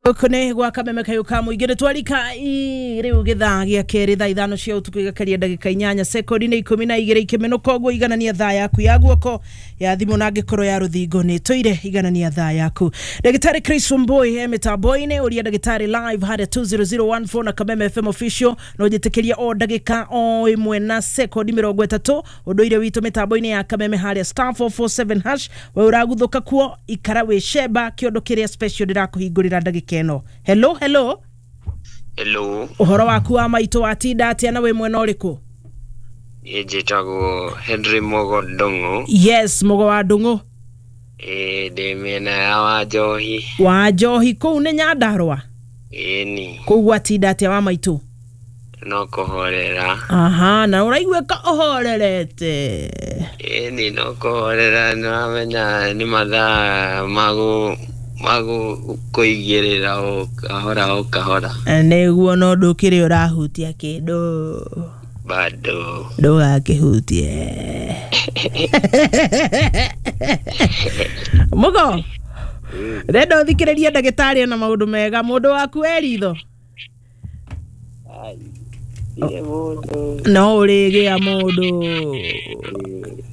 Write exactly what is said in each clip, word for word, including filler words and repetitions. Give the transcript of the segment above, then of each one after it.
Gũkũ nĩ gwa Kameme kayũ ka mũingĩ nĩ twarika rĩu gĩthaa gĩa kerĩ thaa ithano cia ũtukũ igakeria ndagĩka inyanya sekondi nĩ ikũmi na igĩrĩ ikĩmenũka ũguo. Iganania thaa yaku ya guoko ya thimũ na angĩkorwo ya rũthingo nĩ tũire iganania thaa yaku. Ndagĩtarĩ Chris Wambui he mĩtambo-inĩ ũria ndagĩtarĩ live harĩa two zero zero one four na Kameme F M official no njĩtĩkĩria o ndagĩka o ĩmwe na sekondi mĩrongo ĩtatũ ũndũire witũ mĩtambo-inĩ ya Kameme harĩa star four four seven hash we ũraguthũka kuo ikara wĩ sheba kĩondo kĩrĩa special ndĩrakũhingũrĩra ndagĩka ĩno. Hello, hello. Hello. Ũhoro waku wa maitũ watinda atĩa na wĩ mwena ũrĩkũ? Niĩ njĩtagwo Henry Mugo Ndung'u. Yes, Mugo wa Ndung'u. Ĩĩ, ndĩ mĩena ya Wanjohi. Wanjohi kũu nĩ Nyandarũa? Ĩni. Kũu gwatinda atĩa wa maitũ? No kũhorera. Aha, na ũraiguĩka ũhorerete. Ĩni, no kũhorera, nĩwamenya nĩ mathaa magũ magũ kũigĩrĩra o kahora o kahora. Nĩguo, no ndũkĩrĩ ũrahutia kĩndũ. Bado. Ndũgakĩhutie. Mugo, ndĩrenda ũthikĩrĩrie ndagĩtarĩ ena maũndũ mega. Mũndũ waku e ritho? No ũrĩgĩa mũndũ.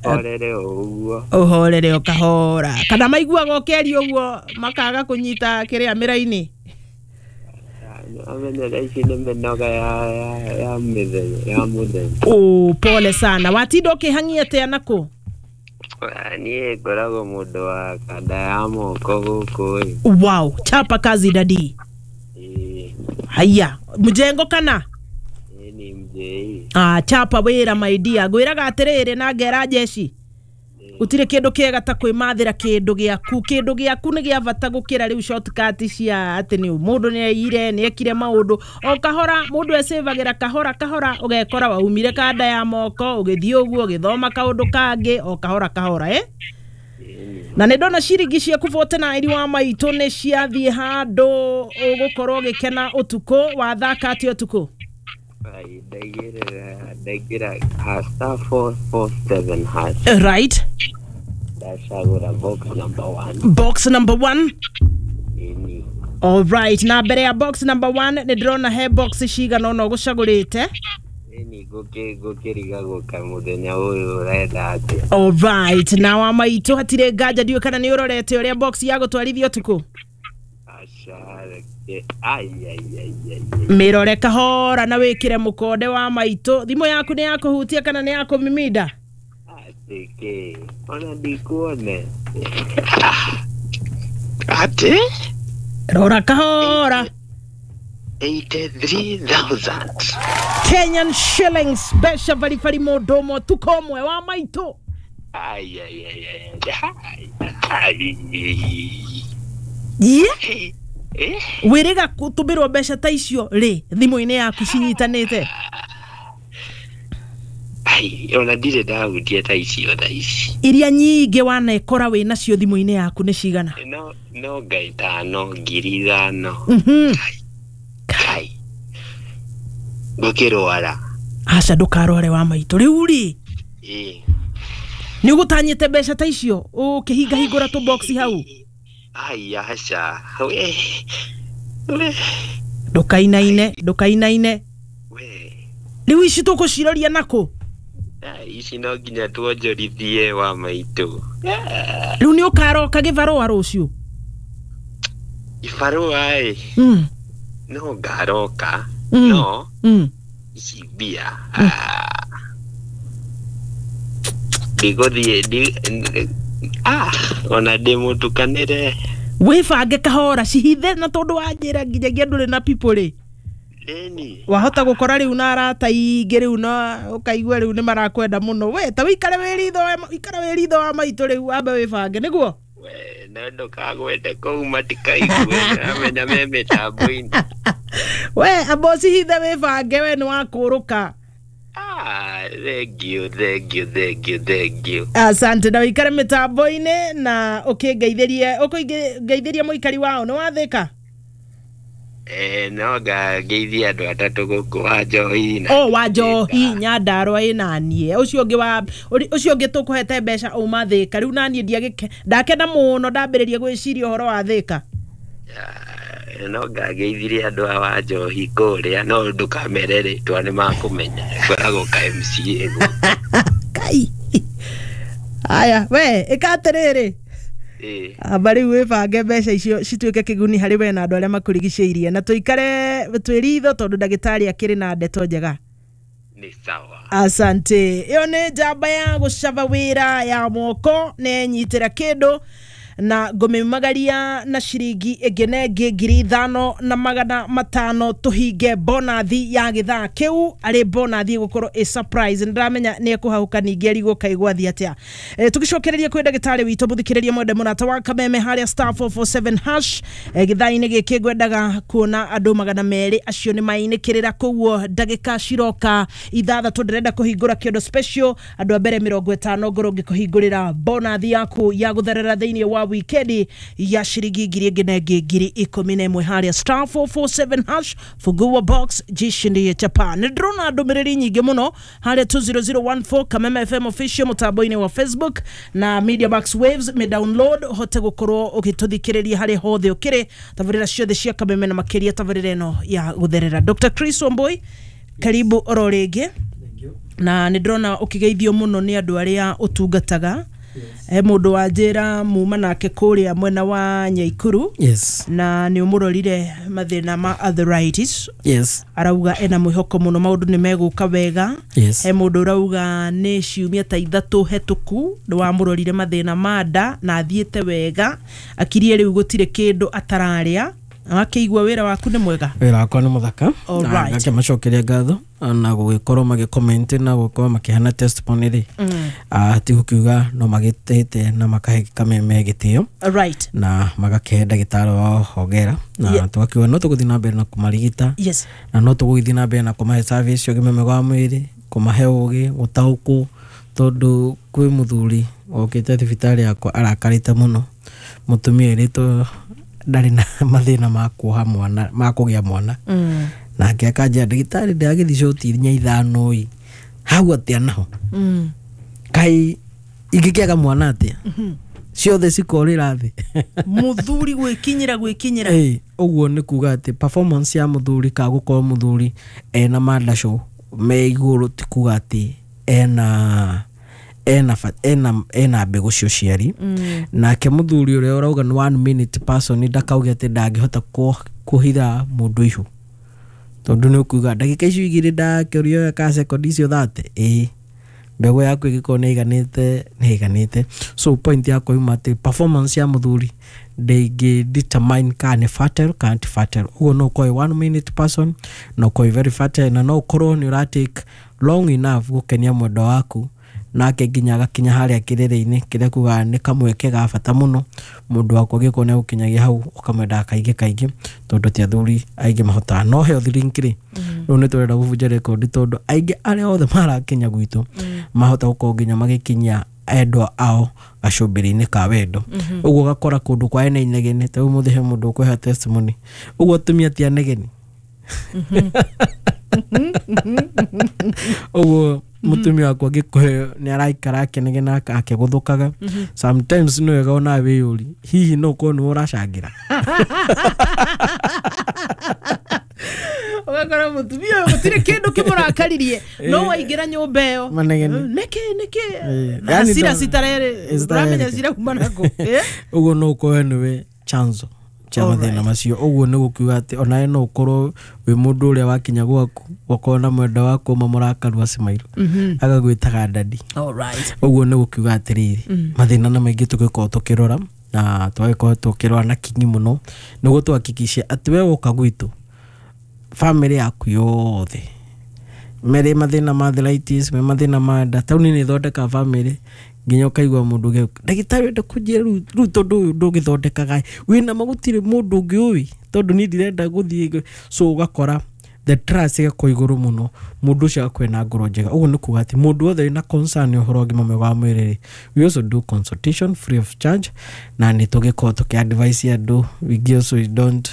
Ũhorere o ũguo. Ũhorere o kahora. Kana maiguaga ũkĩaria ũguo makaga kũnyita kĩrĩa mĩraini? Amenya thaa ici nĩ mĩnoga ya, ya, ya mĩthenya, ya mũthenya. Oh, pole sana. Watinda ũkĩhang'ia atĩa nakũ? Niĩ ngoragwo mũndũ wa kanda ya moko gũkũ ĩ. Wow, chapa kazi dadi. Ĩĩ. Haya, mjengo kana? Ĩĩ, ni mjei. Ah, chapa wĩra my dear. Ngwĩraga atĩrĩrĩ na ngera jeshi. Gũtirĩ kĩndũ kĩega ta kwĩmathĩra kĩndũ gĩaku. Kĩndũ gĩaku nĩ gĩa bata gũkĩra rĩu shortcut cia atĩ nĩ mũndũ nĩ aiyire, nĩ ekire maũndũ. O kahora mũndũ ecĩvagĩra kahora kahora ũgekora waumire kanda ya moko ũgĩthiĩ ũguo ũgĩthoma kaũndũ kangĩ o kahora kahora, eh? Na nĩ ndona ciringi ciaku forty nine wa maitũ nĩ ciathiĩ handũ ũgũkorwo ũgĩkena ũtukũ. Wathaka atĩa ũtukũ? Ai, ndaigĩrĩra, ndaingĩra ha star four four seven hash. Right. Ndacagũra box number one. Box number one. Ĩni. All right, na mbere ya box number one nĩ ndĩrona he box cigana ũna ũgũcagũrĩte. Ĩni, ngũkĩ, ngũkĩrigagwo ka mũthenya ũyũ ũrenda atĩa. All right, na wa maitũ hatirĩ nganja ndiũĩ kana nĩ ũrorete ũrĩa box ya gũtwarithia ũtukũ. Aca, reke. Ai, ai, ai, ai, ai. Mĩrore kahora na wĩkĩre mũkonde wa maitũ. Thimũ yaku nĩ ya kũhutia kana nĩ ya kũmiminda? Atĩ kĩ? Ona ndikuone. Atĩ? Rora kahora. eighty-three thousand. Kenyan shillings mbeca baribari mũndũ ũmwe ũtukũ ũmwe wa maitũ. Ai, ai, ai, ai, ai, ai. Yeah. Eh? Wĩrĩga gũtũmĩrwo mbeca ta icio rĩ thimũ-inĩ yaku cinyitanĩte? Ai, ona ndirĩ ndahutia ta icio thaa ici. Iria nyingĩ wanekora wĩ nacio thimũ-inĩ yaku nĩ cigana? No, no nga ithano, ngiri ithano. Mhm. Kai. Ngũkĩrwara. Aca, ndũkarware wa maitũ. Rĩu rĩ, Ĩĩ. nĩ ũgũtanyĩte mbeca ta icio ũkĩhingahingũra tũ box hau? Ai, aca. We. We. Ndũkainaine, ndũkainaine. We. Rĩu ici tũkũciroria nakũ? Ai, ici no nginya tuonjorithie wa maitũ. Rĩu nĩ ũkaroka gĩbarũa rũciũ? Gĩbarũa ĩ? Mm. No ngaroka. Mm. No. Mm. Ici mbia. Ndigũthiĩ, ndi-, ah, ona ndĩmũtukanĩre. Wĩbange kahora cihithe na tondũ wanjĩra nginyagia ndũrĩ na people rĩ. Ĩni. Wahota gũkora rĩu na arata aingĩ rĩu na ũkaigua rĩu nĩ marakwenda mũno. We ta wĩikare wĩ ritho wa, ikara wĩ ritho wa maitũ rĩu wambe wĩbange nĩguo? We, no ndũkagwete kũu matikaigue, amenya me mĩtambo-inĩ. We amba ũcihithe wĩbange we nĩ wakũrũka. Ah, thank you, thank you, thank you, thank you. Asante na wĩikare mĩtambo-inĩ na ũkĩngeithĩrie, ũkĩngeithĩrie mũikari wao nĩ wathĩka? Eh, no ngeithie andũ atatũ gũkũ wa Njohi na Oh, wa Njohi Nyandarũa ĩ naniĩ. Ũcio ũngĩ wa, ũcio ũngĩ tũkũhete mbeca uma Thĩka. Rĩu naniĩ ndiagĩke, ndakena mũno ndambĩrĩria gwĩciria ũhoro wa Thĩka. Ah, No ngageithirie andũ a wa njohi kũrĩa, no ndũkamere rĩtwa nĩ makũmenya. Ngoragwo ka M C A gũkũ. Kai. Aya, we ĩka atĩrĩrĩ. Ĩĩ. Amba rĩu wĩbange mbeca icio cituĩke kĩguni harĩ we na andũ arĩa makũrigicĩirie, na tũikare twĩ ritho tondũ ndagĩtarĩ akĩrĩ na ndeto njega. Nĩ sawa. Asante. Ĩyo nĩ njamba ya gũcaba wĩra ya moko, nĩ nyitĩra kĩndũ na ngũmĩmagaria na ciringi ĩngĩ na ĩngĩ ngiri ithano na magana matano tũhinge bonathi ya gĩthaa kĩu, arĩ bonathi ĩgũkorwo ĩ surprise. Nĩndĩramenya nĩ ekũhahũka ningĩ arigwo kaĩ gwathiĩ atĩa. E, tũgĩcokereria kwĩ ndagĩtarĩ witũ mũthikĩrĩria mwende mũrata wa Kameme harĩa star four four seven hash. E, gĩthaa-inĩ gĩkĩ ngwendaga kuona andũ magana merĩ acio nĩ mainĩkĩrĩra, koguo ndagĩka ciroka ithathatũ ndĩrenda kũhingũra kĩondo special andũ a mbere mĩrongo ĩtano ngorwo ngĩkũhingũrĩra bonathi yaku ya gũtherera thĩinĩ wa wikendi ya ciringi ngiri ĩngĩ na ĩngĩ ngiri ikũmi na ĩmwe harĩa star four four seven hash fungua box jishindie chapa. Nĩ ndĩrona ndũmĩrĩri nyingĩ mũno harĩa two zero zero one four Kameme F M official mũtambo-inĩ wa Facebook na Media Max Waves, me download ũhote gũkorwo ũgĩtũthikĩrĩria harĩa hothe ũkĩrĩ tabarĩra ciothe cia Kameme na makĩria tabarĩra ĩno ya gũtherera. Doctor Chris Wambui, karibu oro rĩngĩ. Na nĩ ndĩrona ũkĩgeithio mũno nĩ andũ arĩa ũtungataga. He mũndũ wa njĩra muma nake kũrĩa mwena wa Nyaikuru. Yes. Na nĩ ũmũrorire mathĩna ma arthritis. Yes. Arauga ena mwĩhoko mũno maũndũ nĩ megũka wega. Yes. He mũndũ ũrauga nĩ ciumia ta ithatũ hetũku nĩ wamũrorire mathĩna ma nda na athiĩte wega, akirie rĩu gũtirĩ kĩndũ atararĩa. Akĩigua wĩra waku nĩ mwega? Wĩra wakwa nĩ mũthaka. All Na right. ngakĩmacokeria ngatho na gũgĩkorwo magĩcomment na gũkorwo makĩheana testimony rĩ. Mm. Ah, ti gũkiuga no magĩtĩte na makahe Kameme gĩtĩo. All right. Na magakĩhe ndagĩtarĩ wao hongera. Na Yeah. tũgakiuga no tũgũthiĩ na mbere na kũmarigita. Yes. Na no tũgũgĩthiĩ na mbere na kũmahe service ya ũgima mwega wa mwĩrĩ, kũmahe ũgĩ, gũtaũkwo, tondũ kwĩ mũthuri okĩte thibitarĩ yakwa arakarĩte mũno. Mũtumia erĩtwo ndarĩ na mathĩna ma kuoha mwana, ma kũgĩa mwana. Mm. Nake akanjĩra ndagĩtarĩ ndĩragĩthiĩ coti inya ithano ĩ, hau atĩa naho? Mm. Kaĩ ingĩkĩaga mwana atĩa? Mm-hmm. Ciothe cikorĩra thĩ. Mũthuri gwĩkinyĩra gwĩkinyĩra. Ĩĩ, ũguo nĩ kuga atĩ performance ya mũthuri ka gũkorwo mũthuri ena mandacũ me igũrũ ti kuga atĩ ena ena fa-, ena, ena mbegũ cia ũciari. Mm. Nake mũthuri ũrĩa ũrauga nĩ one minute person ndakauge atĩ ndangĩhota kũ-, kũhitha mũndũ ihu, tondũ nĩ ũkuga ndagĩka icio igĩrĩ ndakĩũrio ka sekondi icio thate, ĩĩ mbegũ yaku ĩngĩkorwo nĩ ĩiganĩte, nĩ ĩiganĩte. So point yakwa yuma atĩ performance ya mũthuri ndĩngĩ determine kana nĩ fertile kana ti fertile. Ũguo no ũkorwo wĩ one minute person, no ũkorwo wĩ very fertile, na no ũkorwo nĩ ũra take long enough gũkenia mwendwa waku, nake nginya agakinya harĩa kĩrĩrĩ-inĩ kĩrĩa kugaga nĩ kamweke ga bata mũno mũndũ waku angĩkorwo nĩ agũkinyagia hau ũkamwendaga kaingĩ kaingĩ, tondũ ti athuri aingĩ mahotaga. No health link rĩ, Mm. rĩu nĩ tũrenda gũbunja rekondi tondũ aingĩ arĩa othe marakinya gwitũ Mm. mahota gũkorwo nginya magĩkinyia endwa ao gacumbĩrĩ-inĩ ka wendo. Mm-hmm. Ũguo ũgakora kũndũ kwa ene inegene, ta ũmũthĩ he mũndũ ũkũhe testimony, ũguo atumia ti anegeni. Mm-hmm. Ũguo mũtumia wakwa angĩkũhe nĩ araikara akĩnegena akĩgũthũkaga. Mm-hmm. Sometimes nĩ wega ona wĩyũrie, hihi no ũkorwo nĩwe ũracangĩra? Ũgakora mũtumia ũyũ gũtirĩ kĩndũ kĩmũrakaririe, no waingĩra nyũmba ĩyo. Manegene. Nĩkĩ, nĩkĩ? Eh, Na yani hasira ndo- citarere, Eh, ũramenya citarere. cirauma nakũ? Eh? Ũguo no ũkorwo nĩwe chanzo cha All mathĩna right. macio. Ũguo nĩ gũkiuga atĩ onawe no ũkorwo wĩ mũndũ ũrĩa wakinya gwaku, ũkorwo na mwendwa waku ũmwe mũrakaru acimairwo, Mm-hmm. agagwĩtaga daddy. All right. Ũguo nĩ gũkiuga atĩrĩrĩ, Mm. mathĩna nĩ maingĩ tũgĩkorwo tũkĩrora, na tũgagĩkorwo tũkĩrora na kinyi mũno nĩguo tũhakikishe atĩ we woka gwitũ family yaku yothe merĩ mathĩna ma arthritis, me mathĩna ma nda, taũni nĩ ĩthondekaga family nginya ũkaigua mũndũ ũngĩ, ndagĩtarĩ enda kũnjĩra rĩu, rĩu tondũ ũyũ ndũgĩthondekaga wĩna ma gũtirĩ mũndũ ũngĩ ũĩ, tondũ niĩ ndirenda gũthiĩ. So ũgakora the trust ĩgakorwo igũrũ mũno, mũndũ ũcio agakorwo ena ngoro njega. Ũguo nĩ kuga atĩ mũndũ wothe wĩna concern ũhoro wa ũgima mwega wa mwĩrĩ rĩ, we also do consultation free of charge, na nĩ tũgĩkorwo tũkĩ advise andũ. We also don't,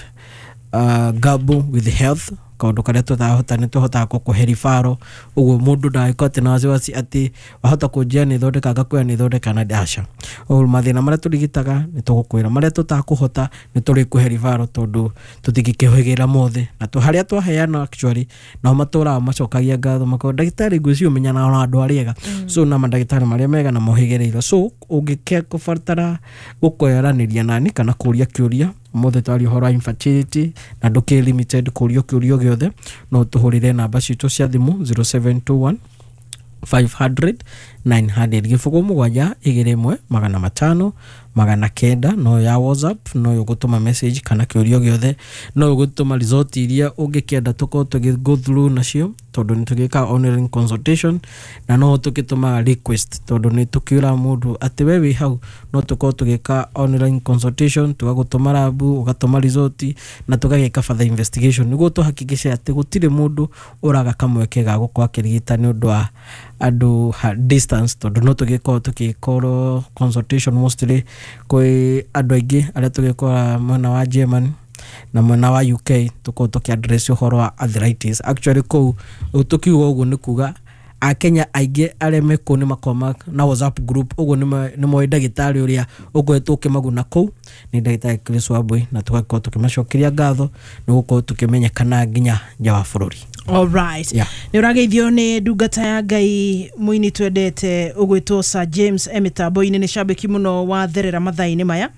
uh, gamble with health. Kaũndũ karĩa tũtahota nĩ tũhotaga gũkũhe referral, ũguo mũndũ ndagĩkorwo atĩ na wasiwasi atĩ wahota kũnjia nĩ thondeka, ngakwĩra nĩ thondeka na aca. Ũguo mathĩna marĩa tũrigitaga nĩ tũgũkwĩra, marĩa tũtakũhota nĩ tũrĩkũhe referral, tondũ tũtingĩkĩhĩgĩra mothe. Na tũ harĩa twaheana actually nao matũraga macokagia ngatho, makauga ndagĩtarĩ ngwĩciria ũmenyanaga na andũ arĩa ega. So na mandagĩtarĩ marĩa mega na mohĩgĩrĩirwo. So ũngĩkũbatara gũkwaranĩria nani kana kũria kĩũria, ũmũthĩ twaria ũhoro wa infertility na ndũkĩrĩ limited kũrio kĩũria gĩothe, no tũhũrĩre namba citũ cia thimũ zero seven two one five hundred nine hundred, gĩbũgũ mũgwanja igĩrĩ ĩmwe magana matano magana kenda. No ya WhatsApp, no ũgũtũma message kana kĩũria gĩothe, no ũgũtũma result iria ũngĩkĩenda tũkorwo tũgĩ go through nacio, tondũ nĩ tũgĩkaga online consultation, na no tũgĩtũmaga request, tondũ nĩ tũkĩũra mũndũ atĩ we wĩ hau, no tũkorwo tũgĩka online consultation, tũgagũtũma rabu, ũgatũma result na tũgagĩka further investigation nĩguo tũhakikishe atĩ gũtirĩ mũndũ ũraga kamweke ga gũkorwo akĩrigita nĩ ũndũ wa andũ ha distance, tondũ no tũgĩkorwo tũgĩkorwo consultation mostly kwĩ andũ aingĩ arĩa tũgĩkora mwena wa Germany na mwena wa U K, tũkorwo tũkĩ address ũhoro wa arthritis. Actually kũu tũkiuga ũguo nĩ kuga akenya aingĩ arĩa me kũu nĩ makoragwo na WhatsApp group, ũguo nĩ moĩ ndagĩtarĩ ũrĩa ũkoretwo ũkĩmaguna kũu nĩ ndagĩtarĩ Chris Wambui, na tũgakorwo tũkĩmacokeria ngatho nĩ gũkorwo tũkĩmenyekana nginya nja wa bũrũri. Alright. Yeah. Nä å rageithio nä ndungata ya Ngai mũini twendete ũgwĩtwo Sir James e mĩtambo-inĩ, nĩ cambĩki mũno wa therera mathaa-inĩ maya,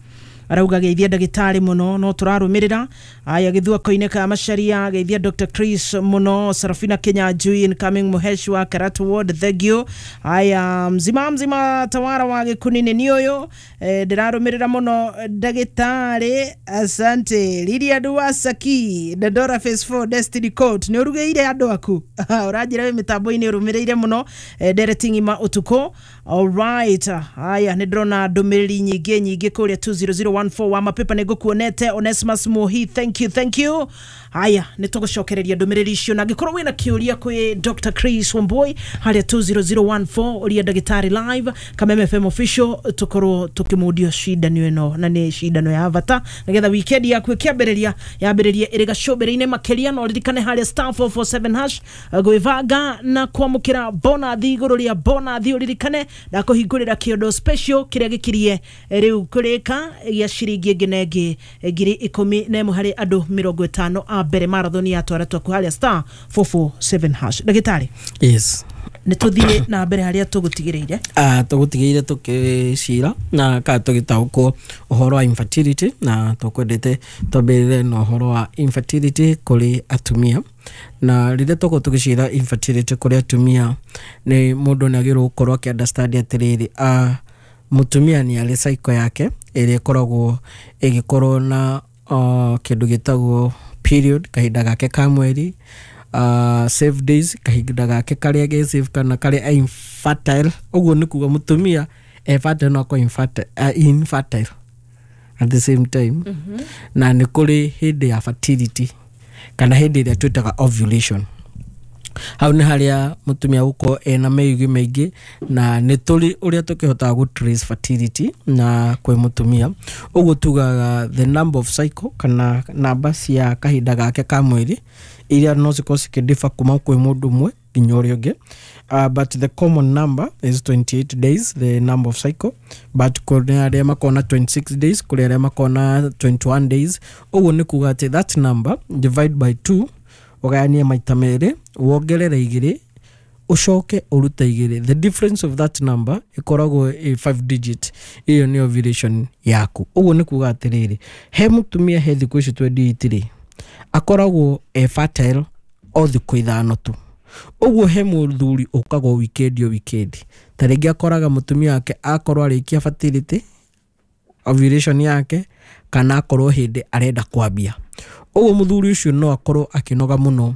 arauga geithia ndagĩtarĩ mũno, no tũrarũmĩrĩra. Aya, gĩthuako-inĩ ka Macaria, geithia Doctor Chris mũno. Sarafina Kinyanjui incoming Muhesh wa Karatu Ward, thank you. Aya, mzima mzima tawara wa gĩkuni-inĩ nĩ ũyũ, eh, ndĩrarũmĩrĩra mũno ndagĩtarĩ, asante. Lilia Duwasaki Dandora Phase four Destiny Court, nĩ ũrugĩire andũ aku, ũranjĩra wĩ mĩtambo-inĩ ũrũmĩrĩire mũno, eh, ndereti ng'ima ũtukũ. Alright, haya, nĩ ndĩrona ndũmĩrĩri nyingĩ nyingĩ kũrĩa two zero zero one four wa mapepa, nĩ ngũkuonete. Onesmus Muhi, thank you, thank you. Haya, nĩ tũgũcokereria ndũmĩrĩri icio, na angĩkorwo wĩna kĩũria kwĩ Doctor Chris Wambui harĩa two zero zero one four, ũria ndagĩtarĩ live Kameme F M official, tũkorwo tũkĩmundio cindano ĩno, na nĩ cindano ya bata nĩgetha weekend yaku ĩkĩambĩrĩria yambĩrĩrie ĩrĩ gacũmbĩrĩ-inĩ makĩria. Na ũririkane harĩa star four four seven hash gwĩbanga na kwamũkĩra bonathi igũrũ rĩa bonathi. Ũririkane ndakũhingũrĩra kĩondo special kĩrĩa gĩkirie rĩu kũrĩka gĩa ciringi ĩngĩ na ĩngĩ ngiri ikũmi na ĩmwe harĩ andũ mĩrongo ĩtano a mbere marathon ya twara twaku harĩa star four four seven hash. Ndagĩtarĩ, Yes. nĩ tũthiĩ na mbere harĩa tũgũtigĩrĩire. Uh, tũgũtigĩire tũkĩcira na kana tũgĩtaũkwo ũhoro wa infertility, na tũkwendete twambĩrĩre na ũhoro wa infertility kũrĩ atumia. Na rĩrĩa tũkorwo tũgĩcira infertility kũrĩ atumia, nĩ mũndũ nĩ agĩrĩirwo gũkorwo akĩ understand atĩrĩrĩ, uh, mũtumia nĩ arĩ cycle yake ĩrĩa ĩkoragwo ĩgĩkorwo na uh, kĩndũ gĩtagwo period, kahinda gake ka mweri, uh, safe days, kahinda gake karĩa ge safe kana karĩa infertile. Ũguo nĩ kuga mũtumia e fertile no akorwo infertile, uh, infertile at the same time. mm -hmm. Na nĩ kũrĩ hĩndĩ ya fertility kana hĩndĩ ĩrĩa twĩtaga ovulation. Hau nĩ harĩa mũtumia gũkorwo ena mĩigwi maingĩ, na nĩ tũrĩ ũrĩa tũkĩhotaga gũ trace fertility na kwĩ mũtumia. Ũguo tugaga the number of cycle kana namba cia kahinda gake ka mweri iria no cikorwo cikĩdiffer kuma kwĩ mũndũ ũmwe nginya ũrĩa ũngĩ, uh, but the common number is twenty-eight days, the number of cycle, but kũrĩ arĩa makorwo na twenty-six days, kũrĩ arĩa makorwo na twenty-one days. Ũguo nĩ kuga atĩ that number divide by two, ũgayanie maita merĩ, wongerere igĩrĩ, ũcoke ũrute igĩrĩ, the difference of that number ĩkoragwo ĩ five digit, ĩyo nĩ ovulation yaku. Ũguo nĩ kuga atĩrĩrĩ, he mũtumia he thikũ ici twenty-eight rĩ, akoragwo e fertile o thikũ ithano tu. Ũguo he mũthuri ũkaga o weekend, o weekend, ta rĩngĩ akoraga mũtumia wake akorwo arĩkia fertility ovulation yake kana akorwo hĩndĩ arenda kwambia. Ũguo mũthuri ũcio no akorwo akĩnoga mũno.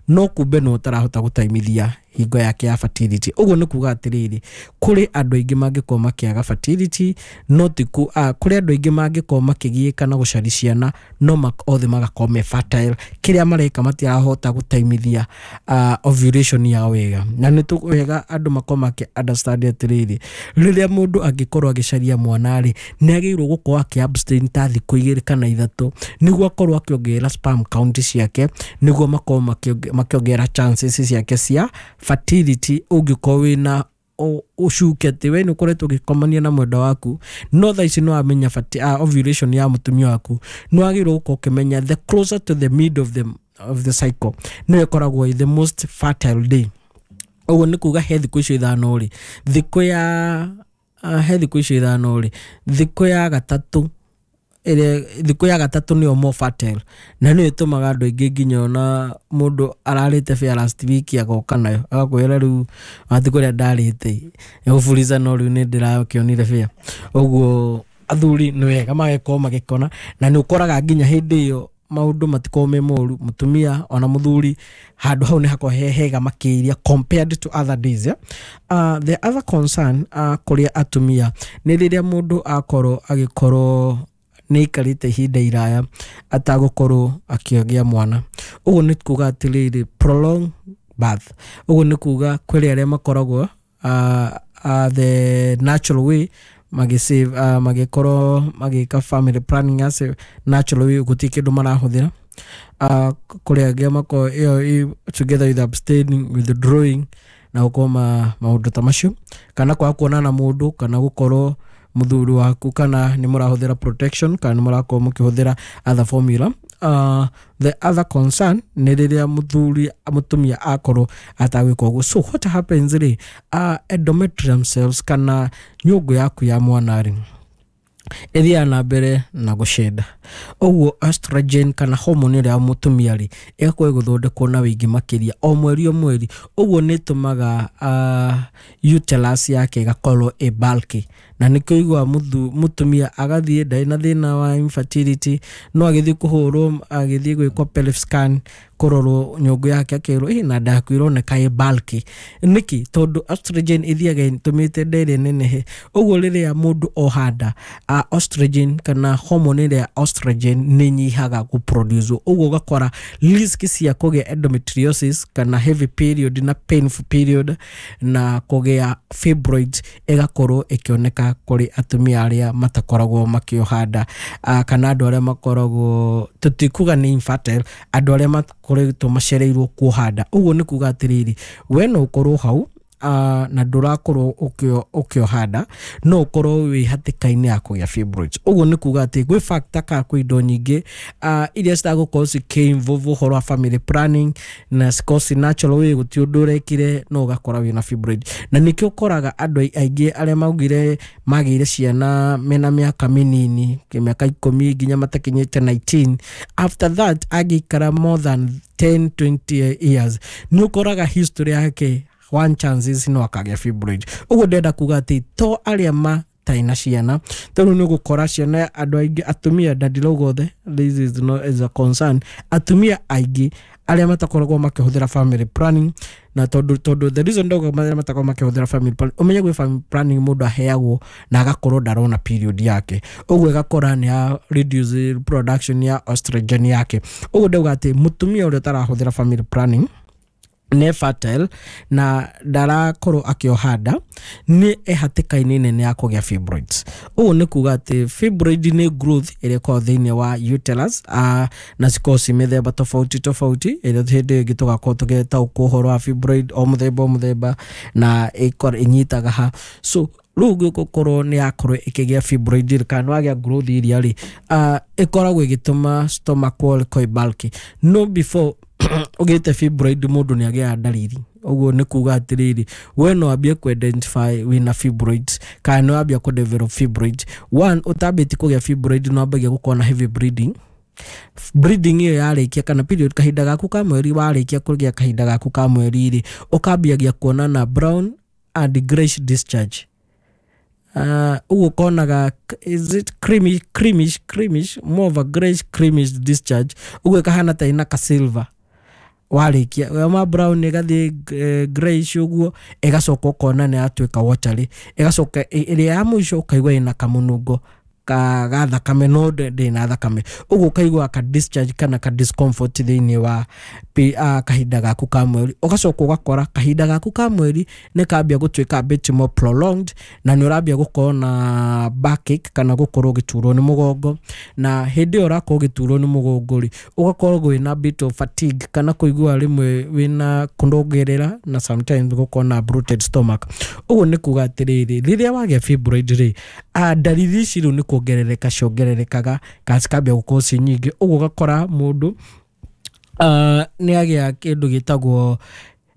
No kumbe no ũtarahota gũtaimithia hingo yake ya fertility. Ũguo nĩ kuga atĩrĩrĩ, kũrĩ andũ aingĩ mangĩkorwo makĩaga fertility, no ti ku ah, kũrĩ andũ aingĩ mangĩkorwo makĩgiĩka na gũcaria ciana no mak, othe magakorwo me fertile. Kĩrĩa mareka matirahota gũtaimithia uh, ovulation yao wega. Na nĩ tũ wega andũ makorwo makĩ understand atĩrĩrĩ, rĩrĩa mũndũ angĩkorwo agĩcaria mwana rĩ, nĩ agĩrĩirwo gũkorwo akĩ abstain ta thikũ igĩrĩ kana ithatũ nĩguo akorwo akĩongerera sperm count ciake, nĩguo makorwo makĩongerera chances ciake cia fertility. Ũngĩkorwo wĩna ũcuke atĩ we nĩ ũkoretwo ũgĩkomania na mwendwa waku, no thaa ici nĩ wamenya uh, ovulation ya mũtumia waku, nĩ wagĩrĩirwo gũkorwo ũkĩmenya the closer to the mid of the, of the cycle nĩyo ĩkoragwo the most fertile day. Ũguo nĩ kuga he thikũ icio ithano rĩ, thikũ ya uh, he thikũ icio ithano rĩ, thikũ ya gatatũ ĩrĩa thikũ ya gatatũ nĩyo more fertile, na nĩyo ĩtũmaga andũ aingĩ nginya ona mũndũ ararĩte fare last week agoka nayo agakwĩra rĩu wati kũrĩa ndarĩte gũburiza no rĩu nĩ ndĩrakĩonire fare. Ũguo athuri nĩ wega magĩkorwo magĩkona, na nĩ ũkoraga nginya hĩndĩ ĩyo maũndũ matikorwo me moru, mũtumia ona mũthuri handũ hau nĩ hakorwo he hega makĩria compared to other days, yeah? Uh, the other concern uh, kũrĩa atumia nĩ rĩrĩa mũndũ akorwo agĩkorwo nĩ aikarĩte ihinda iraya atagũkorwo akĩgĩa mwana. Ũguo nĩ kuga atĩrĩrĩ, prolong birth. Ũguo nĩ kuga kwĩ arĩa makoragwo uh, uh, the natural way magĩsave uh, magĩkorwo magĩka family planning as a natural way, gũtirĩ kĩndũ marahũthĩra. Uh, kũrĩ angĩ makorwo ĩyo together with abstaining, withdrawing na gũkorwo ma maũndũ ta macio, kana kwaga kuonana na mũndũ, kana gũkorwo mũthuri waku kana nĩ mũrahũthĩra protection kana nĩ mũrakorwo mũkĩhũthĩra other formula. Uh, the other concern nĩ rĩrĩa mũthuri mũtumia akorwo atagwĩka ũguo. So what happens rĩ, uh, endometrium cells kana nyũngũ yaku ya mwana rĩ ĩthiaga na mbere na gũcenda. Ũguo estrogen kana hormone ĩrĩa ya mũtumia rĩ ĩgakorwo ĩgĩthondekwo na wĩingĩ makĩria o mweri o mweri. Ũguo nĩ ĩtũmaga uh, uterus yake ĩgakorwo ĩ bulky, na nĩkĩo ũiguaga mũtumia agathiĩ ndarĩ na thĩna wa infertility, no agĩthiĩ kũhũrwo, agĩthiĩ gwĩkwo pelvic scan kũrorwo nyũngũ yake akerwo ĩ na nda yaku ĩroneka ĩ bulky. Nĩkĩ? Tondũ estrogen ĩthiaga ĩtũmĩte nda ĩrĩa ĩnenehe. Ũguo rĩrĩa mũndũ oha nda, uh, estrogen kana hormone ĩrĩa ya estrogen nĩ ĩnyihaga gũproduce. Ũguo ũgakora risk cia kũgĩa endometriosis kana heavy period na painful period na kũgĩa fibroids ĩgakorwo ĩkĩoneka kũrĩ atumia arĩa matakoragwo makĩoha nda, uh, kana andũ arĩa makoragwo, tũtikuga nĩ infertile, andũ arĩa makoretwo macereirwo kuoha nda. Ũguo nĩ kuga atĩrĩrĩ, we no ũkorwo hau uh, na ndũrakorwo ũkĩoha nda, no ũkorwo wĩ hatĩka-inĩ ya kũgĩa fibroids. Ũguo nĩ kuga atĩ gwĩ factor kana kwĩ indo nyingĩ uh, iria citagũkorwo cikĩ-involve ũhoro wa family planning na cikorwo ci natural way, gũtirĩ ũndũ ũrekire no ũgakora wĩna fibroid. Na nĩkĩo ũkoraga andũ aingĩ arĩa maugire magĩire ciana mena mĩaka mĩnini, mĩaka ikũmi nginya matakinyĩte nineteen, after that angĩikara more than ten twenty years nĩ ũkoraga history yake one chances no akagĩa fibroid. Ũguo ndĩrenda kuga atĩ to arĩa matarĩ na ciana, tondũ nĩ ũgũkora ciana andũ aingĩ atumia, na ndirauga othe, this is not as a concern, atumia aingĩ arĩa matakoragwo makĩhũthĩra family planning, na tondũ tondũ the reason ndauga arĩa matakoragwo makĩhũthĩra family planning, ũmenye gwĩ family planning mũndũ aheagwo na agakorwo ndarona period yake, ũguo ĩgakora nĩ ya reduce production ya estrogen yake. Ũguo ndauga atĩ mũtumia ũrĩa ũtarahũthĩra family planning nĩ fertile na ndarakorwo akĩoha nda, nĩ ehatĩka-inĩ nene ya kũgĩa fibroids. Ũguo nĩ kuga atĩ fibroid nĩ growth ĩrĩa ĩkoragwo thĩinĩ wa uterus, uh, na cikoragwo ci mĩthemba tofauti tofauti, ĩrĩa hĩndĩ ĩngĩ tũgakorwo tũgĩtaũkwo ũhoro wa fibroid o mũthemba o mũthemba na ĩnyitaga ha. So rĩu gũkorwo nĩ yakorwo ĩkĩgĩa fibroid kana wagĩa growth iria rĩ, uh, ĩkoragwo ĩgĩtũma stomach wall ĩkorwo ĩ bulky. No before ũgĩte fibroid mũndũ nĩ agĩaga ndariri. Ũguo nĩ kuga atĩrĩrĩ, we no wambie kũ identify wĩna fibroids kana nĩ wambia kũ develop fibroids. One, ũtambĩtie kũgĩa fibroid nĩ wambagia gũkorwo na heavy bleeding. Bleeding ĩyo yarĩkia kana period kahinda gaku ka mweri warĩkia kũgĩa kahinda gaku ka mweri rĩ, ũkambiagia kuona na brown and grayish discharge. Ũguo ũkonaga is it creamy, creamish, creamish, more of a grayish creamish discharge. Ũguo ĩkahana ta ĩna ka silver. Warĩkia yauma brown ĩgathiĩ eh, grayish ũguo, ĩgacoka ũkona nĩ yatuĩka watery, ĩgacoka ĩ- ĩrĩa ya mũico ũkaigua ĩna kamũnungo ka ga thakame, no ndĩ ndĩ na thakame. Ũguo ũkaigua ka discharge kana ka discomfort thĩinĩ wa pi- ah, kahinda gaku ka mweri. Ũgacoka ũgakora kahinda gaku ka mweri nĩ kambia gũtuĩka a bit more prolonged, na nĩ ũrambia gũkorwo na backache kana gũkorwo ũgĩturwo nĩ mũgongo. Na hĩndĩ ĩyo ũrakorwo ũgĩturwo nĩ mũgongo rĩ, ũgakorwo wĩna bit of fatigue kana kũigua rĩmwe wĩna kũnongerera, na sometimes gũkorwo na bloated stomach. Ũguo nĩ kuga atĩrĩrĩ, rĩrĩa wagĩa fibroid rĩ, ah, ndariri ici rĩu nĩ kuongerereka ciongererekaga kana cikambia gũkorwo ci nyingĩ. Ũguo ũgakora mũndũ uh, nĩ agĩa kĩndũ gĩtagwo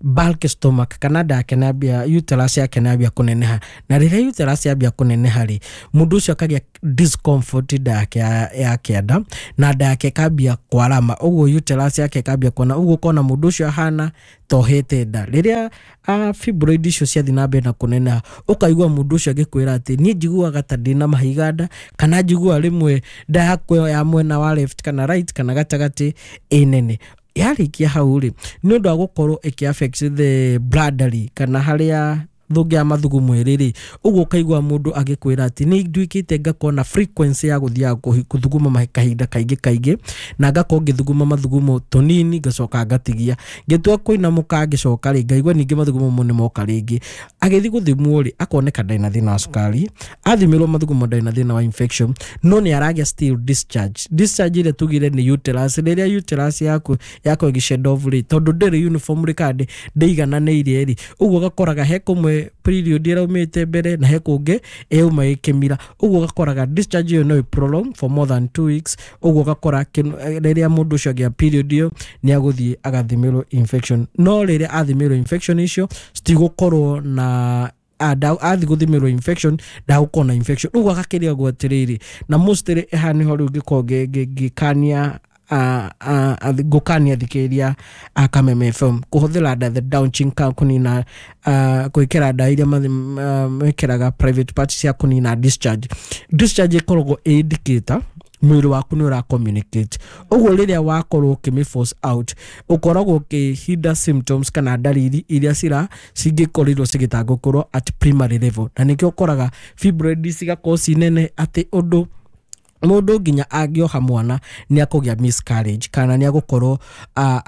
bulk stomach, kana nda yake nĩambia, uterus yake nĩambia kũneneha. Na rĩrĩa uterus yambia kũneneha rĩ, mũndũ ũcio akagĩa discomfort nda yake ya, ya kĩanda, na nda yake ĩkambia kwarama. Ũguo uterus yake ĩkambia kuona ũguo, ũkona mũndũ ũcio ahana tohete nda. Rĩrĩa uh, fibroid icio ciathiĩ na mbere na kũneneha, ũkaigua mũndũ ũcio agĩkwĩra atĩ niĩ njiguaga ta ndĩna mahiga nda, kana njiguaga rĩmwe nda yakwa ya mwena wa left kana right kana gatagatĩ ĩ nene. Yarĩkia hau rĩ, nĩ ũndũ wa gũkorwo ĩkĩ affect the bladder rĩ, kana harĩa thũngĩ ya mathugumo ĩrĩ rĩ, ũguo ũkaigua mũndũ agĩkwĩra atĩ nĩ nduĩkĩte ngakorwo na frequency ya gũthiaga kũhi- gũthuguma mahi- kahinda kaingĩ kaingĩ, na ngakorwo ngĩthuguma mathugumo tũnini, ngacoka ngatigia, ngĩtua kũinamũka ngĩcoka rĩ, ngaigua ningĩ mathugumo mo nĩ moka rĩngĩ. Agĩthiĩ gũthimwo rĩ, akoneka ndarĩ na thĩna wa cukari, athimĩrwo mathugumo ndarĩ na thĩna wa infection, no nĩ aragĩa still discharge. Discharge ĩrĩa tugire nĩ uterus, rĩrĩa uterus yaku yakorwo ĩgĩ off rĩ, tondũ ndĩrĩ uniform rĩ, kana ndĩ- ndĩigananĩire rĩ, ũguo ũgakoraga he kũmwe period ĩraumĩte mbere na he kũngĩ ĩyauma ĩkĩmira. Ũguo ũgakoraga discharge ĩyo no ĩ prolong for more than two weeks. Ũguo ũgakora kĩno- rĩrĩa mũndũ ũcio agĩa period ĩyo, nĩ agũthiĩ agathimĩrwo infection, no rĩrĩa athimĩrwo infection icio citigũkorwo na ah, nda- athiĩ gũthimĩrwo infection, ndagũkorwo na infection. Ũguo agakĩrĩagwo atĩrĩrĩ, na mostly haha nĩho rĩu ngĩkorwo ngĩ- ngĩ- ngĩkania ah, ah, athi- ngũkania thikĩrĩria a Kameme F M kũhũthĩra nda the douching ka kũnina, ah, gwĩkĩra ndawa iria mathi- ah, mekĩraga private parts cia kũnina discharge. Discharge ĩkoragwo ĩ indicator mwĩrĩ waku nĩ ũra communicate. Ũguo rĩrĩa wakorwo ũkĩmĩ force out, ũkoragwo ũkĩhinda symptoms kana ndariri iria cira cingĩkorirwo cigĩtangũkũrwo at primary level. Na nĩkĩo ũkoraga fibroid cigakorwo ci nene atĩ ũndũ mũndũ nginya angĩoha mwana nĩ akũgĩa miscarriage, kana nĩ agũkorwo uh,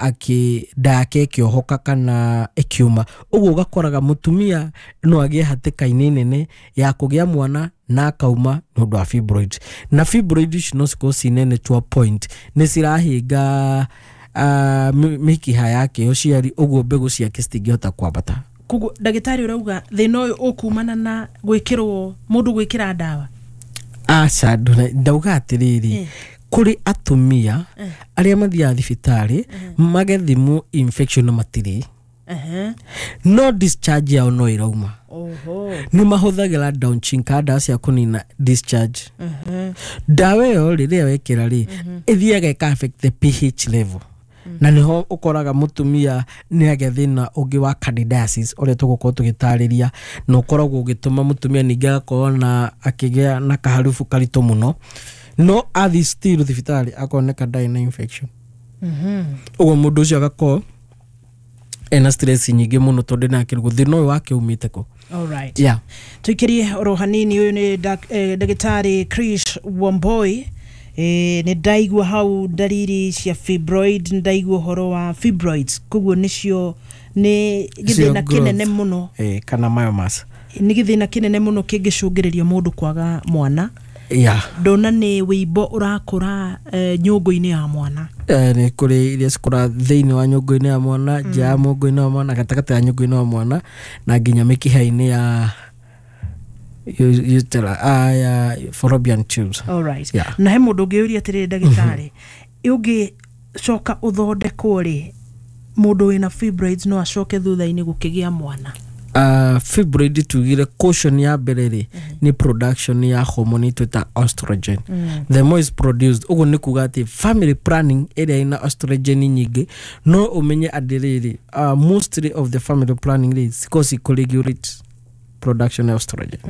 akĩ nda yake ĩkĩohoka kana ĩkiuma. Ũguo ũgakoraga mũtumia no agĩe hatĩka-inĩ nene ya kũgĩa mwana na akauma nĩ ũndũ wa fibroid. Na fibroid ici no cikorwo ci nene to a point nĩ cirahinga uh, mĩkiha yake ya ũciari, ũguo mbegũ ciake citingĩhota kwambata. Koguo ndagĩtarĩ, ũrauga thĩna ũyũ ũkumana na gwĩkĩrwo, mũndũ gwĩkĩra ndawa? Aca, nduna- ndauga atĩrĩrĩ, Eh. kũrĩ atumia arĩa mathiaga thibitarĩ magethimwo infection na matirĩ, Ehe. no discharge yao no ĩrauma. Oho. Nĩ mahũthagĩra douching kana ndawa cia kũnina discharge. Ehe. Ndawa ĩyo rĩrĩa wekĩra rĩ, ĩthiaga ĩka affect the P H level, na nĩho ũkoraga mũtumia nĩ agĩa thĩna ũngĩ wa candidiasis ũrĩa tũgũkorwo tũgĩtarĩria, na ũkoragwo ũgĩtũma mũtumia ningĩ agakorwo na akĩgĩa na kaharubu karitũ mũno, no athiĩ still thibitarĩ akoneka ndarĩ na infection. Mhm. Ũguo mũndũ ũcio agakorwo ena stress nyingĩ mũno, tondũ nĩakĩrwo thĩna ũyũ wake umĩte kũ. Alright. Yeah. Tuikirie oro hanini. Ũyũ nĩ dak- eh, ndagĩtarĩ Chris Wamboi. eh, nĩ ndaigua hau ndariri cia fibroid, nĩ ndaigua ũhoro wa fibroids, koguo nĩcio nĩ gĩthĩna growth. kĩnene mũno. Eh, kana myomas. Nĩ gĩthĩna kĩnene mũno kĩngĩcũngĩrĩria mũndũ kwaga mwana. Yeah. Ndona nĩ wĩimbo ũrakũra eh, nyũngũ-inĩ ya mwana. Eh, nĩ kũrĩ iria cikũra thĩinĩ wa nyũngũ-inĩ ya mwana, nja ya mũngũ-inĩ wa mwana, gatagatĩ ya nyũngũ-inĩ wa mwana, na nginya mĩkiha-inĩ ya u- utera- ah, ya fallopian tubes. Alright. Yeah. Na he mũndũ ũngĩũria atĩrĩrĩ, ndagĩtarĩ, ũngĩcoka ũthondekwo rĩ, mũndũ wĩna fibroids no acoke thutha-inĩ gũkĩgĩa mwana? uh, fibroid tugire caution ya mbere rĩ nĩ production ya hormone twĩta estrogen. The more is produced, ũguo nĩ kuga atĩ family planning ĩrĩa ĩna estrogen nyingĩ, no ũmenye atĩrĩrĩ, uh, mostly of the family planning rĩ cikoragwo cikũ regulate production ya estrogen.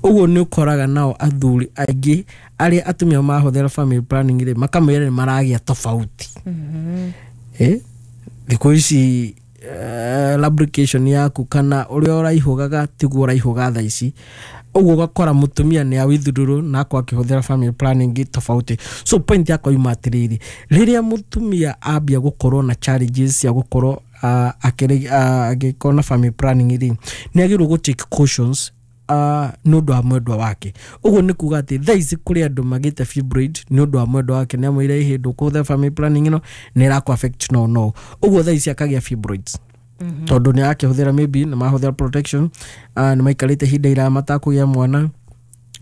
Ũguo nĩ ũkoraga nao athuri aingĩ arĩa atumia mahũthĩra family planning rĩ, makamwĩra nĩ maragĩa tofauti. Eh? Thikũ ici uh, lubrication yaku kana ũrĩa ũraihũgaga tiguo ũraihũga thaa ici. Ũguo ũgakora mũtumia nĩ awithururwo na akorwo akĩhũthĩra family planning tofauti. So point yakwa yuma atĩrĩrĩ, rĩrĩa mũtumia ambia gũkorwo na challenges cia gũkorwo uh, agĩkorwo na family planning rĩ, nĩ agĩrĩirwo gũ take cautions uh, nĩ ũndũ wa mwendwa wake. Ũguo nĩ kuga atĩ thaa ici kũrĩ andũ magĩte fibroid nĩ ũndũ wa mwendwa wake, nĩ amwĩre ĩhĩ ndũkũhũthĩra family planning ĩno nĩ ĩrakũ affect no no ũguo thaa ici akagĩa fibroids tondũ nĩ arakĩhũthĩra, maybe nĩ mahũthĩra protection, uh, nĩ maikarĩte ihinda iraya matakũgĩa mwana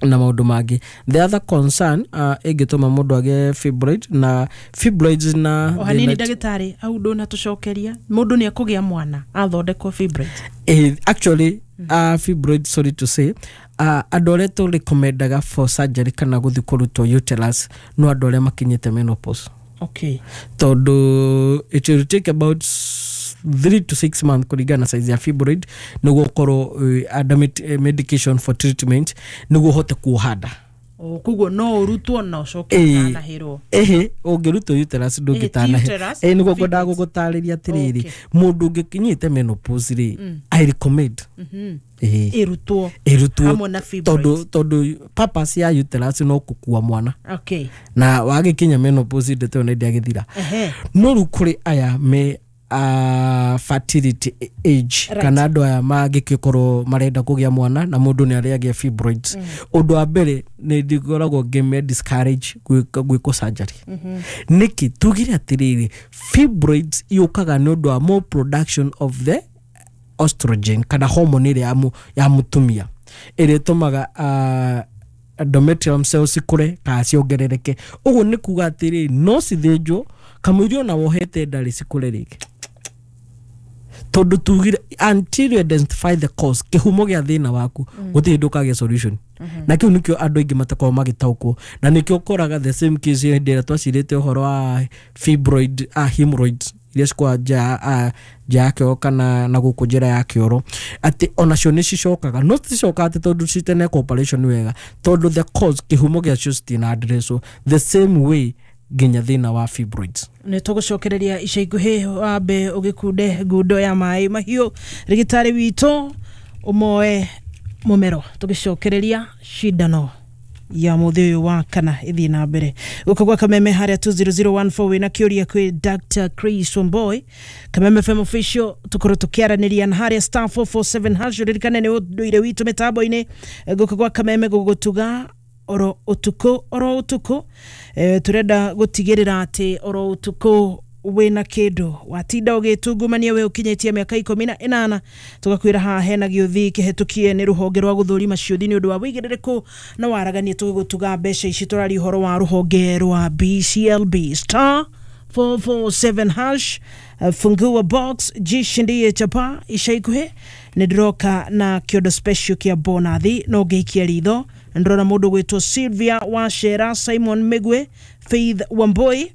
na maũndũ mangĩ. The other concern uh, ĩngĩtũma mũndũ agĩe fibroid na fibroids na O hanini thĩna- ndagĩtarĩ, au ndũnatũcokeria, mũndũ nĩ ekũgĩa mwana athondekwo fibroid? Eh, actually uh, fibroid, sorry to say, uh, andũ arĩa tũ recommendaga for surgery kana gũthiĩ kũrutwo uterus no andũ arĩa makinyĩte menopause, okay tondũ it will take about s- three to six months kũringana na size ya fibroid nĩguo ũkorwo uh, under med- eh, medication for treatment nĩguo ũhote kuoha nda. O, koguo no ũrutwo na ũcoke Ĩĩ. ũtanahĩrwo? Ĩhĩ, ũngĩrutwo uterus ndũngĩtanahe. Uterus, Ĩ nĩguo ngwendaga fibroids. gũgũtarĩria atĩrĩrĩ, Okay. mũndũ ũngĩkinyĩte menopause rĩ, I recommend ĩĩ ĩrutwo ĩrutwo hamwe na fibroids. tondũ tondũ purpose ya uterus no kũkua mwana, okay na wagĩkinya menopause ndeto ĩyo nĩ ndĩagĩthira. Ehe. No rĩu kũrĩ aya me uh, fertility age Right. kana andũ aya mangĩgĩkorwo marenda kũgĩa mwana na mũndũ nĩ arĩagĩa fibroids, ũndũ wa mbere nĩ ndĩkoragwo ngĩme discourage gwĩka gwĩkwo surgery. Nĩkĩ? Tugire atĩrĩrĩ, fibroids yũkaga nĩ ũndũ wa more production of the estrogen kana hormone ĩrĩa ya mu- ya mũtumia ĩrĩa ĩtũmaga uh, endometrium cells cikũre kana ciongerereke. Ũguo nĩ kuga atĩrĩ, no cithĩnjwo kamũiria ona wohete ndarĩ cikũre rĩngĩ, tondũ tugire until you identify the cause, kĩhumo gĩa thĩna waku, gũtirĩ hĩndĩ ũkagĩa solution. Na kĩu nĩkĩo andũ aingĩ matakoragwo magĩtaũkwo, na nĩkĩo ũkoraga the same case hĩndĩ ĩrĩa twacirĩte ũhoro wa fibroid, ah, hemorrhoids iria cikoragwo nja ah, nja ya kĩoro kana na gũkũ njĩra ya kĩoro, atĩ onacio nĩ cicokaga, no citicokaga atĩ tondũ citenekwo operation wega, tondũ the cause, kĩhumo gĩacio citina addresswo the same way nginya thĩna wa fibroids. Nä tå gå cokereria ica ikuhä, wambe å gä kunde ngundo ya maä mahiå, rĩgĩtarĩ witũ ũmoe mũmero, tũgĩcokereria cindano ya mũthĩ ũyũ wa kana ĩthiĩ na mbere gũkũ gwa Kameme harĩa two zero zero one four. Wĩna kĩũria kwĩ Doctor Chris Wamboi, Kameme F M official, tũkorwo tũkĩaranĩria na harĩa star four four seven hash. Ririkane nĩ ũndũire witũ mĩtambo-inĩ gũkũ gwa Kameme gũgũtuga oro ũtukũ oro ũtukũ. e, turenda gũtigĩrĩra atĩ oro ũtukũ wĩna kĩndũ watinda ũgĩtungumania we ũkinyĩtie mĩaka ikũmi na ĩnana. Tũgakwĩra haha hena gĩũthi kĩhetũkie nĩ rũhonge rwa gũthũrima ciũthi nĩ ũndũ wa wĩigĩrĩrĩku na waragania tũgĩgũtuga mbeca ici. Tũraria ũhoro wa rũhonge rwa B C L B. star four four seven hash, uh, fungua box, jishindie chapa. Ica ikuhĩ nĩ ndĩroka na kĩondo special kĩa bonathi, no ngĩikia ritho ndĩrona mũndũ gwĩtwo Sylvia Wachera, Simon Migwe, Faith Wamboi,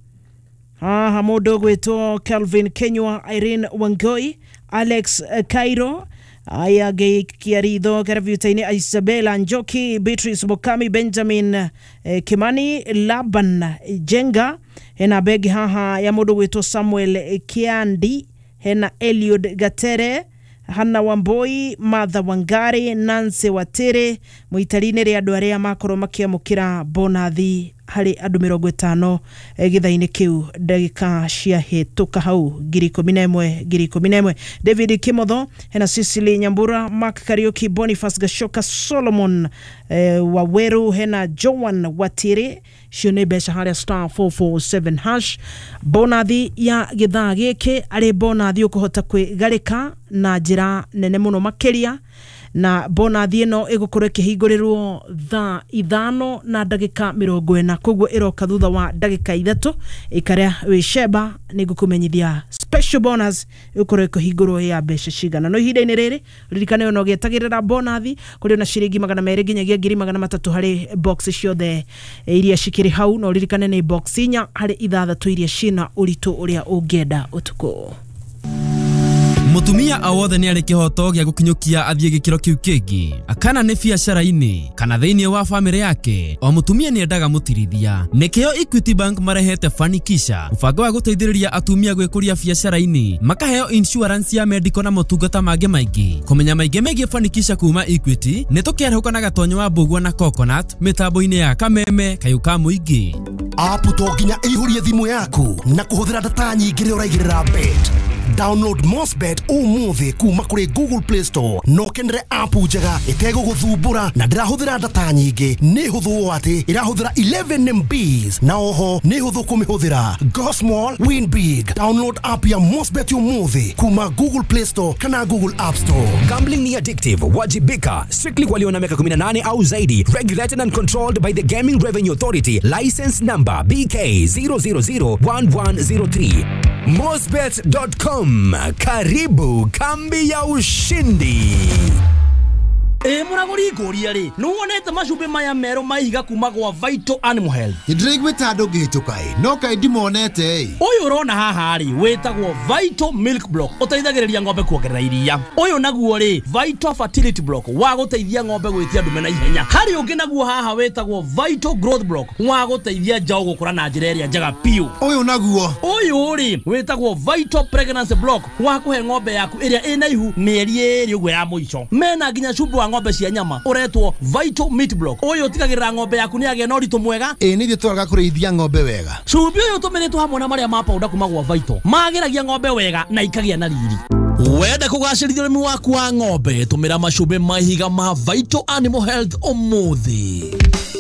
haha mũndũ gwĩtwo Calvin Kenywa, Irene Wangoi, Alex eh, Cairo. Aya, ngĩikia ritho karabiuta-inĩ Isabella Njoki, Beatrice Mukami, Benjamin eh, Kimani, Laban Jenga, hena begi haha ya mũndũ gwĩtwo Samuel Kiandi, hena Eliud Gatere, Hanna Wamboi, Martha Wangari, Nancy Watere. Mũitari-inĩ rĩa andũ arĩa makorwo makĩamũkĩra bonathi harĩ andũ mĩrongo ĩtano eh, gĩthaa-inĩ kĩu ndagĩka ciahĩtũka hau, ngiri ikũmi na ĩmwe, ngiri ikũmi na ĩmwe. David Kimotho, hena Cecily Nyambura, Mark Kariuki, Boniface Gashoka, Solomon eh, Waweru, hena Joan Watire. Icio nĩ mbeca harĩa star four four seven hash. Bonathi ya gĩthaa gĩkĩ arĩ bonathi ũkũhota kwĩgarĩka na njĩra nene mũno makĩria, na bonathi ĩno ĩgũkorwo ĩkĩhingũrĩrwo thaa ithano na ndagĩka mĩrongo ĩna, koguo ĩroka thutha wa ndagĩka ithatũ. Ĩkarĩa wĩ cemba nĩ ngũkũmenyithia special bonus ĩgũkorwo ĩkĩhingũrwo ya mbeca cigana. No ihinda-inĩ rĩrĩ ririkane ona ũgĩetagĩrĩra bonathi kũrĩ ona ciringi magana merĩ nginyagia ngiri magana matatũ harĩ box ciothe iria cikĩrĩ hau. No ririkane nĩ box inya harĩ ithathatũ iria cina ũritũ ũrĩa ũngĩenda ũtukũ. Mutumia o wothe nĩ arĩ kĩhoto gĩa gũkinyũkia athiĩ gĩkĩro kĩu kĩngĩ, kana nĩ biacara-inĩ kana thĩinĩ wa bamĩrĩ yake. O mũtumia nĩ endaga mũtirithia. Nĩkĩo Equity Bank marehete Fanikisha, mũbango wa gũteithĩrĩria atumia gwĩkũria biacara-inĩ, makaheo insurance ya medical na motungata mangĩ maingĩ. Kũmenya maingĩ megiĩ Fanikisha kuma Equity nĩ tũkĩarahũka na Gatonyo wa Mbũgua na Coconut mĩtambo-inĩ ya Kameme Kayũ ka Mũingĩ. App to nginya ĩihũrie thimũ yaku na kũhũthĩra data nyingĩ rĩrĩa ũraigĩrĩra bet. Download Mosbet ũmũthĩ kuma kũrĩ Google Play Store na ũkenere app njega ĩtegũgũthumbũra na ndĩrahũthĩra data nyingĩ. Nĩ hũthũ ũũ atĩ ĩrahũthĩra eleven M Bs na oho nĩ hũthũ kũmĩhũthĩra. Go small, win big. Download app ya Mosbet ũmũthĩ kuma Google Play Store kana Google App Store. Gambling ni addictive. Wajibika. Strictly walio na miaka kumi na nane au zaidi. Regulated and controlled by the Gaming Revenue Authority. License number B K zero zero zero one one zero three. Mosbet dot com. Karibu kambi ya ushindi. Ĩ mũragũri, ngũria rĩ, nĩ wonete macumbĩ maya merũ ma ihiga kuma gwa Vital Animal Health? Nĩ ndĩraiguĩte andũ ngĩhĩtũka ĩ, no kaĩ ndimonete ĩ. Ũyũ ũrona haha rĩ, wĩtagwo Vital Milk Block, ũteithagĩrĩria ng'ombe kuongerera iria. Ũyũ naguo rĩ, Vital Fertility Block, wa gũteithia ng'ombe gwĩtia ndume na ihenya. Harĩ ũngĩ naguo haha wĩtagwo Vital Growth Block, wa gũteithia njaũ gũkũra na njĩra ĩrĩa njega biũ. Ũyũ naguo? Ũyũ rĩ, wĩtagwo Vital Pregnancy Block, wa kũhe ng'ombe yaku ĩrĩa ĩna ihu mĩeri ĩrĩ ũguo ya mũico. Mena nginya cumbĩ wa ng'ombe cia nyama ũretwo Vital Meat Block. Ũyũ ũtigagĩrĩra ng'ombe yaku nĩ yagĩa na ũritũ mwega. Ĩ nĩ ithuĩ twaraga kũrĩithia ng'ombe wega. Cumbĩ ũyũ ũtũmĩrĩtwo hamwe na marĩa ma powder kuma gwa Vital magĩragia ng'ombe wega na ikagĩa na riri. Wenda kũgacĩrithia ũrĩmi waku wa ng'ombe, tũmĩra macumbĩ ma ihiga ma Vital Animal Health ũmũthĩ.